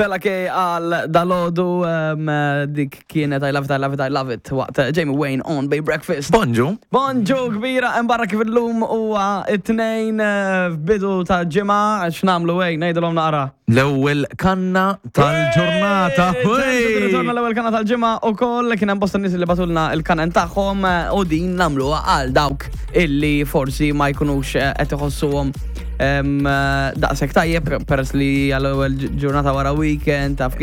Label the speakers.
Speaker 1: Bella K għal dalodu dik kienet I love it, I love it, I love it waqt Jamie Wayne on Bay Breakfast.
Speaker 2: Bonġu.
Speaker 1: Bonġu kbira, hemm barra kif illum huwa it-tnejn f'bidu ta' ġimgħa x'nagħmlu ej ngħidulhom naqra.
Speaker 2: L-ewwel kanna tal-ġurnata.
Speaker 1: Ritorna l-ewwel kanna tal-ġimgħa ukoll kien hemm bosta nies li batulna il-kanen tagħhom u din nagħmluha għal dawk illi forsi ma jkunux qed iħossuhom daqshekk tajjeb peress li għal ewwel ġurnata wara weekend taf.